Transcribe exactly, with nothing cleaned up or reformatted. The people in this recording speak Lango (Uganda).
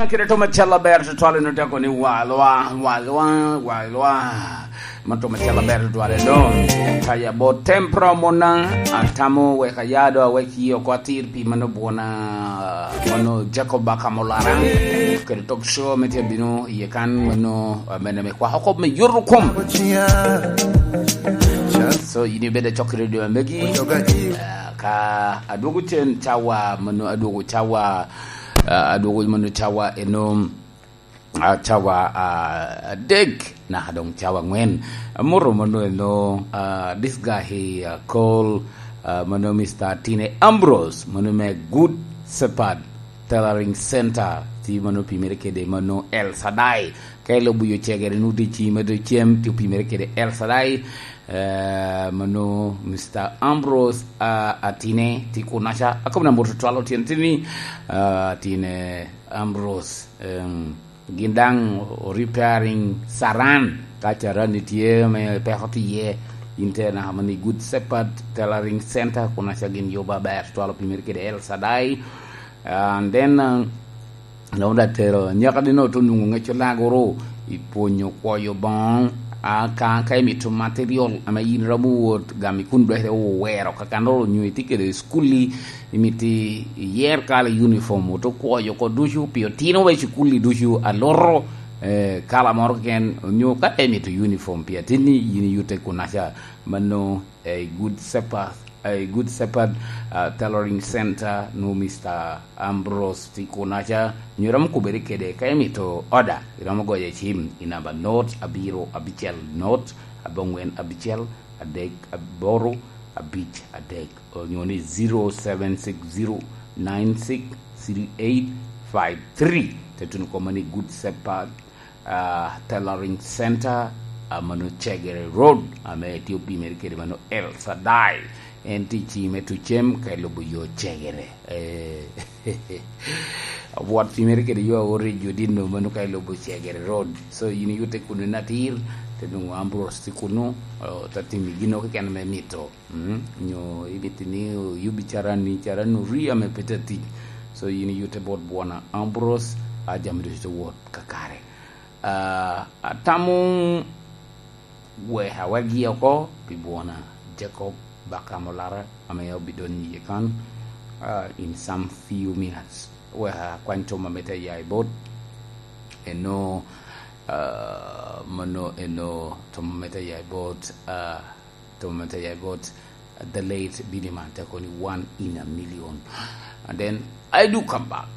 Kede to macalo aber tutwal eno te kono ni walwa, walwa, walwa. Man to macalo aber tutwal eno. Kaya bot tempra mona, atamo wek aya do awek yi oko atir pi mano bwona, mano Jacob Bakamolara. Kede talk show me tye bino iye kan mano, ah, mene me kwako kop me yoto kom. So, yini bede cok i radio megi. Ah, ka adwogo cen cawa, mano adwogo cawa, ah, adwogo mano cawa eno, ah, cawa, ah, adek, naka dong cawa angwen. Amoto mano eno, ah, this guy he, ah, call, ah, mano Mister Tine Ambrose, mano me Good Shepherd Tailoring Center, ti mano pimere kede mano El Shaddai. Ka ilubo yo cegere nu di ci medo cem, ti opimere kede El Shaddai, eh, mano Mister Ambrose, ah, Atine, ti kunaca. Akobo na moto twalo tyen tini, ah, Atine Ambrose, em, gin daŋ o repairing saran, ka caran ni tye me peko tye iye, in te naka mani Good Shepherd Tailoring Center, kunaca gin yubo aber, twalo pimere kede El Shaddai. And then, uh, dong da tero, nyaka dino to nungo ŋeco lagoro, i pwonyo kwoyo boŋo, a ka, ka imito material ame yin romo wot gami kun dwekere owero, ka kan oro nyo itye kede i skulli, imito iyer kala uniform, oto kwoyo oko ducu, pi otino wa i skulli ducu, aloro, eh, kala moro keken, onyo ka imito uniform pi atinni, yin iyute kunaca, mano, eh, Good Shepherd, eh, Good Shepherd, ah, Tailoring Center, nu Mister Ambrose ti kunaca, nyo iromo kubere kede, ka imito order, iromo goyo cim, i namba not abiro abicel not, abongwen abicel, adek aboro, abic adek, onyo ni zero seven six zero nine six three eight five three. Te tuno koma ni Good Shepherd, ah, Tailoring Center, ah, mano Chegere Road, ame tye opimere kede mano El Shaddai. En tye i ci me Tucem ka ilubo yo Chegere. Eh, obwot pimere kede yo aor i Judino mano ka ilubo Chegere Road. So, yin iyute kuno natir, te nwoŋo Ambrose tye kuno, oh, te timi gino keken me mito. Mm, nyo ibiti ni oyubi carani, carani ori ame pe te tic. So, yin iyute bot bwona Ambrose, a jami ducu te wot kakare. Ah, atamo wek awek yi oko pi bwona Jacob Bakamolara, ame obidonyo iye kan, ah, in some few minutes. Wek akwany tom ame te ya i bot. Eno, ah, mano eno tom ame te ya i bot, ah, tom ame te ya i bot, the late Biniman, te koni one in a million. And then I do come back.